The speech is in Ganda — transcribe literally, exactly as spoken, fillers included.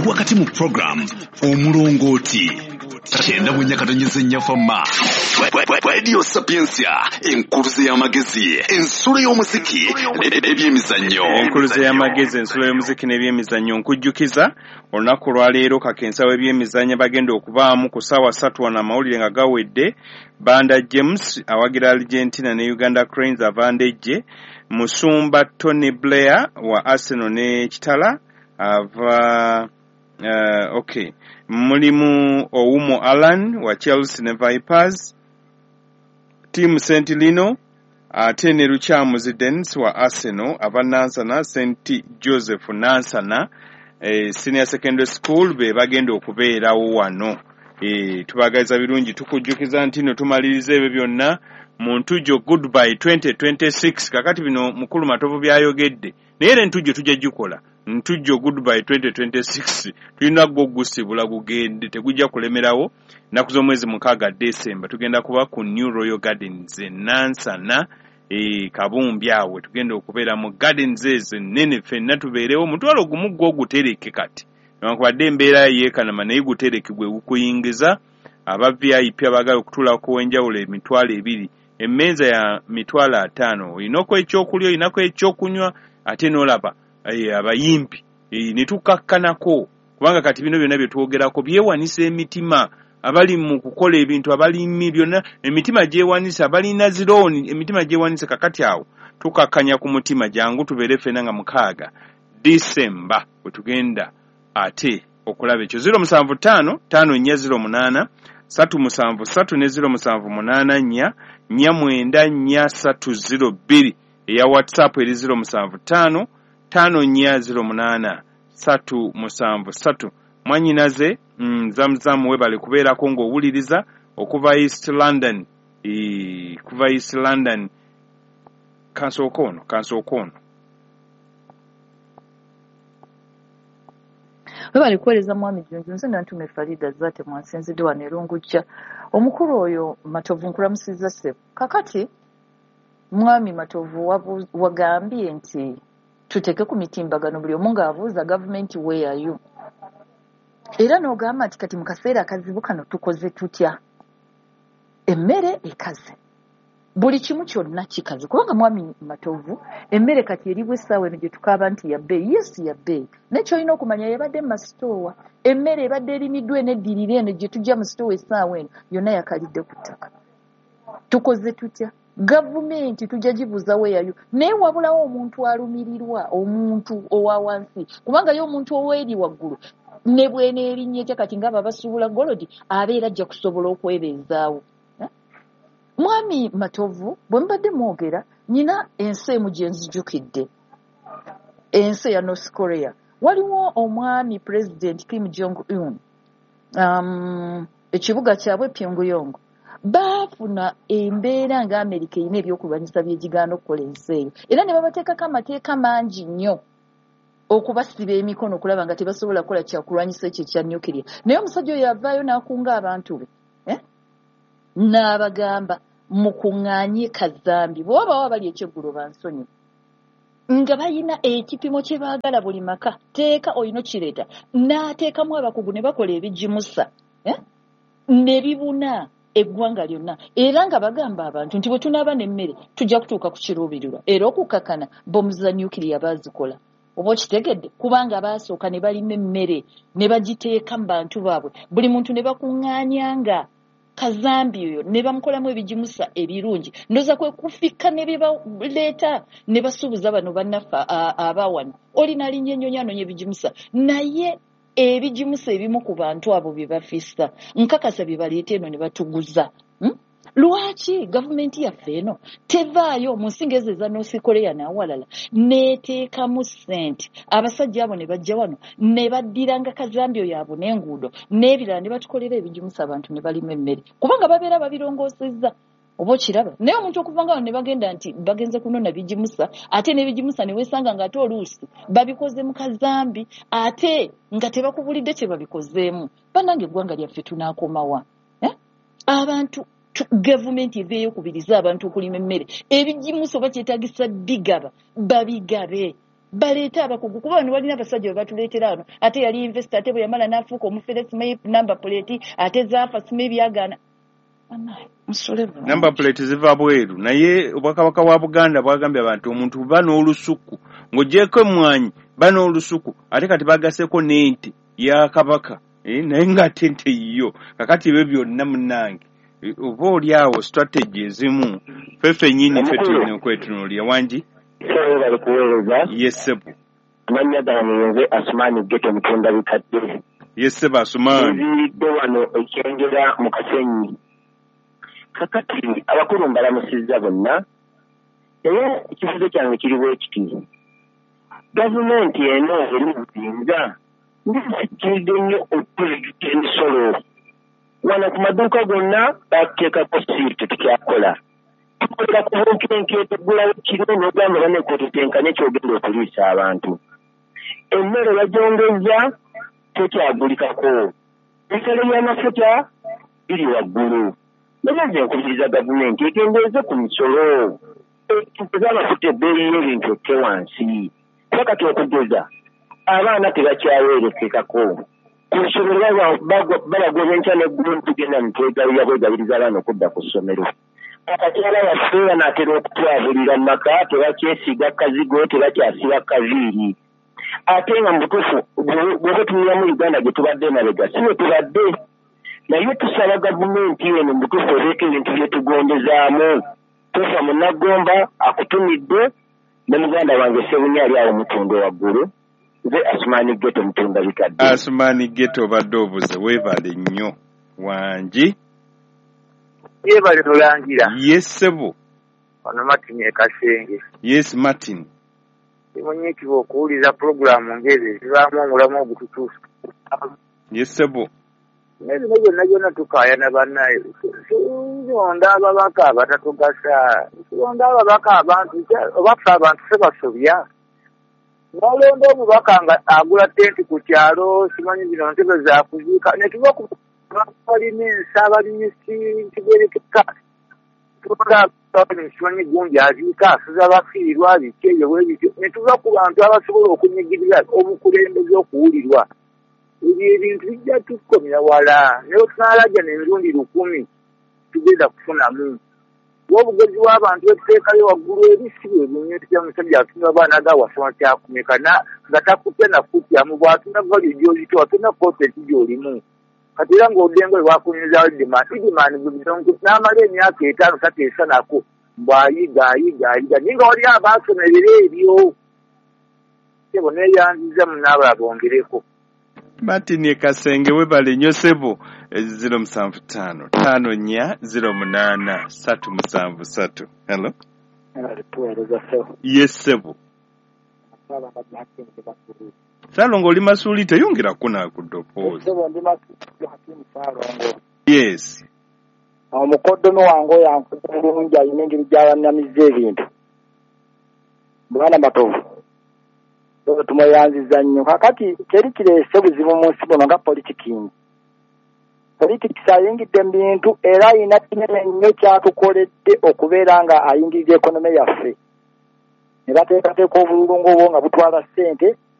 Oli wakati mu program Omulongooti kyenda mu nnya katonyeze nnya fama Radio Sapientia, enkuluze y'amagezi, ensulo y'omuziki n'ebyemizannyo. Enkuluze y'amagezi, ensulo y'omuziki n'ebyemizannyo. Nkujjukiza olunaku lwaleero kakensa w'ebyemizannyo bagenda okubaamu ku ssaawa ssatu wano amawulire nga gawedde. Banda James awagira Argentina ne Uganda Cranes avandejje. Musumba Tony Blair wa Arsenal ne Kitala ava uh, okay. Mulimu Oumo Alan wa Chelsea ne Vipers, Team Sentilino ate ne Lukyamuzi Dennis wa Arsenal ava Nansana, Saint Joseph Nansana eh, Senior Secondary School be bagenda okubeerawo wano. Eh, tubagaliza birungi, tukujjukiza nti no tumaliriza ebyo byonna mu Ntujjo Goodbye twenty twenty-six. Kakati bino mukulu Matovu byayogedde, naye era Ntujjo tujja gikola. Ntujjo Goodbye twenty twenty-six tulina gwo gusibula gugende, tegujja kulemerawo. Nnaku z'omwezi mukaaga December tugenda kuba ku New Royal Gardens e Nansana e Kabumbi awo tugenda okubeera mu gardens ezo ennene, ffenna tubeerewo. Omutwalo gumu gwo gutereke kati, newankubadde embeera yeekanama, naye gutereke gwe gukuyingiza. Aba V I P abaagala okutuulako ow'enjawulo emitwalo ebiri, emmeeza ya mitwalo ataano, olinako ekyokulya, olinako ekyokunywa, ate n'olaba abayimbi ne tukakkanako, kubanga kati bino byonna bye twogerako byewanisa emitima. Abali mu kukola ebintu, abalimi byonna emitima gyewanisa, abalina zirooni emitima gyewanisa. Kakati awo tukakkanya ku mutima. Jangu tubeere ffenna nga mukaaga December bwe tugenda ate okulaba ekyo. Ziro musanvu ttaano ttaano nnya ziro munaana ssatu musanvu ssatu ne ziro musanvu munaana nnya nnya mwenda nnya ssatu ziro bbiri. Eya WhatsApp eri ziro musanvu ttaano ttaano nnya ziro munaana ssatu musanvu ssatu. Mwannyinaze mm, Zamzam webale kubeerako ng'owuliriza okuva East London, e, kuva East London. Kansooka ono, kansooka ono. Webale kuweereza mwami Junju. Nze Nantume Farida Zaate mwansinzidde wano e Lungujja. Omukulu oyo Matovu nkulamusizza ssebo. Kakati mwami Matovu wagambye nti tuteeke ku mitimbagano buli omu ng'abuuza gavumenti weeyayo, era n'ogamba nti kati mu kaseera akazibu kano tukoze tutya? Emmere ekaze, buli kimu kyonna kikaze, kubanga mwami Matovu emmere kati eribwa essaawa eno gye tukaaba nti ya bbeeyi. Yes, ya bbeeyi, naye ky'olina okumanya yebadde mu masitoowa. Emmere ebadde erimiddwa eneddirira eno gye tujja mu sitoowa essaawa eno yonna yakalidde ku ttaka. Tukoze tutya? Gavumenti tujja gibuuza weeyayo, naye wabulawo omuntu alumirirwa, omuntu owa wansi, kubanga ye omuntu ow'eri waggulu ne bw'eneerinnya etya kati ng'abo abasuubula golodi abeera ajja kusobola okwebeezaawo. Mwami Matovu bwe mbadde mwogera, nina ensi emu gye nzijukidde, ensi eya North Korea. Waliwo omwami President Kim Jong Un, um, ekibuga kyabwe Pyongyang, baafuna embeera nga Amerika erina ebyokulwanyisa byegigaana okukola ensi eyo, era ne babateekako amateeka mangi nnyo okubasiba emikono okulaba nga tebasobola kukola kyakulwanyisa ekyo ekya nuclear. Naye omusajja oyo avaayo n'akunga abantu be, eh? N'abagamba mukuŋŋaanye kazambi, bwe wabawo abali ekyeggulo bansonyiwe, nga balina ekipimo kye baagala buli maka, teeka olina okireeta, n'ateekamu abakugu ne bakola ebigimusa, eh? Ne bibuna eggwanga lyonna, era nga bagamba abantu nti bwe tunaaba n'emmere tujja kutuuka ku kiruubirirwa. Era okukakkana bomu za nuclear baazikola, oba okitegedde, kubanga baasooka ne balima emmere ne bagiteeka mu bantu baabwe, buli muntu ne bakuŋŋaanyanga kazambi oyo ne bamukolamu ebigimusa ebirungi. Ndowooza kwe kufikka ne bibaleeta ne basuubuza bano bannaffe abawano, olina alinnya ennyonyi anoonya ebigimusa, naye ebigimusa ebimu ku bantu abo bye bafissa nkakasa bye baleeta eno ne batuguza. Hmm? Lwaki gavumenti yaffe eno tevaayo mu nsi ng'ezo eza North Korea n'awalala n'eteekamu ssente, abasajja abo ne bajja wano ne baddiranga kazambi oyo abo n'enguudo n'ebirala ne batukolera ebigimusa abantu ne balima emmere, kubanga babeera babirongoosezza, oba okiraba. Naye omuntu okuva nga wano ne bagenda nti bagenze kunona bigimusa, ate n'ebigimusa ne weesanga ng'ate oluusi babikoze mu kazambi ate nga tebakubulidde kye babikozeemu. Bannange eggwanga lyaffe tunaakomawa? Eh? Abantu gavumenti eveeyo okubiriza abantu okulima emmere, ebigimusa oba kyetaagisa bigaba babigabe. Baleete abakugu, kuba bano balina abasajja bwe batuleetera wano, ate yali investor, ate bwe yamala n'afuuka omufere, simanyi number plate ate zaafa, simanyi byagaana. Musole bulungi. Number plate ziva bweru, naye Obwakabaka bwa Buganda bwagambye abantu omuntu ba n'olusuku ng'ogyeko emmwanyi, ba n'olusuku, ate kati bagaseko n'ente ya Kabaka, eh, naye ng'ate ente yiyo. Kakati ebyo byonna munnange, eh, oba oli awo strategy ezimu ffe ffennyini ffe tulina okwetunuulira. Wangi? Bali kuweereza. Yes ssebo. Amannya gange nze Asumaani Geto Mutunda Bikadde. Yes ssebo Asumaani. Nziridde wano Ekyengera mu Kasenyi. Kakati abakulu mbalamusizza bonna, naye ekibuuzo kyange kiri bwe kiti: gavumenti eno eri mu buyinza ndikiridde nnyo okuleeta emisolo wano ku maduuka gonna, bateekako siiti, tetukyakola, tukolera ku bunkenke, tugulawo kiro n'ogamba banekootetenkanye kyogenda okuliisa abantu. Emmere bagyongeza, tekyagulikako, ebisale by'amafuta biri waggulu. Naye nze nkubiriza gavumenti ekendeeze ku misolo eza amafuta, ebbeeyi y'ebintu ekke wansi, kuba kati okugeza abaana tebakyaweerekekako ku ssomero, babagoba enkya n'eggulo, tugenda nitwegabirira bwegabiriza abaana okudda ku ssomero. Akakyala baffe banaatera okutwabulira mu maka, tebakyesiga kazigo, tebakyasiba kaviiri, ate nga mu butuufu bw'oba otunulamu Uganda gye tubadde emabega si bwe tubadde. Naye tusaba gavumenti eno mu butuufu ebeeko ebintu byetugondezaamu. Tofa Munnagomba akutumidde ne muganda wange Sebunya ali awo Mutundo waggulu. Nze Asumaani Geto Mutunda Bikadde. Asumaani Geto, obadde obuze, weebale nnyo. Wangi? Yebale Mulangira. Yes ssebo. Ono Martin e Kasenge. Yes Martin. Simunyiikibwa okuwuliriza pulogulaamu ng'ezo ezibaamu omulamu ogututuusa. Yes ssebo. Naye bino byonna byonna tukaayana bannaye, tulonda ababaka abatatugasa, tulonda ababaka abantu oba ffe abantu ffe basobya. N'olonda omubaka nga agula tenti ku kyalo, simanyi zino ntebe zakuziika, ne tuva ku balina ensa, abalimisi ntigerekeka, tulonda simanyi gundi aziika, asuza bafiirwa biki ebyo bwe bityo, ne tuva ku bantu abasobola okunyigiriza obukulembeze okuwulirwa. Ebyo ebintu bijja tukomya wala, naye tunaalajja n'emirundi lukumi tugenda kufunamu. Obugezi bw'abantu betuteekayo waggulu eri si bwe bunyusi. Omusajja atunula abaana ga wasoma kyakumeka nga takutya nakutyamu, bw'atunda value gy'ozitowa, tolina content gy'olimu. Kati era ng'oddengo bwe bakunyumizawo Idiman, Idiman n'amala emyaka etaano tateesa nako, bw'ayiga ayiga ayiga, naye nga waliyo abaasomerera ebyo. Sebo, neeyanziza, munaabala bongereko. Martin e Kasenge, webale nnyo ssebo. Zero musanvu ttaano ttaano nnya zero munaana ssatu musanvu ssatu. Hello. Tuweereza ssebo. Yes ssebo. Saalongo, oli Masuuli, teyongerako naku ddoboozi. Ssebo, ndi Masuuli Hakimu Saalongo. Yes. Omukoddomi wange oyo ankoze bulungi, alina engeri gy'abannamizza ebintu. Bwana Matovu tumweyanziza nnyo. Kakati teri kireese buzibu mu nsi buno nga politiking. Politics ayingidde mu bintu era ayina kinene nnyo kyatukoledde okubeera nga ayingirira economy yaffe, ne bateekateeka obululu ng'obwo nga butwala ssente.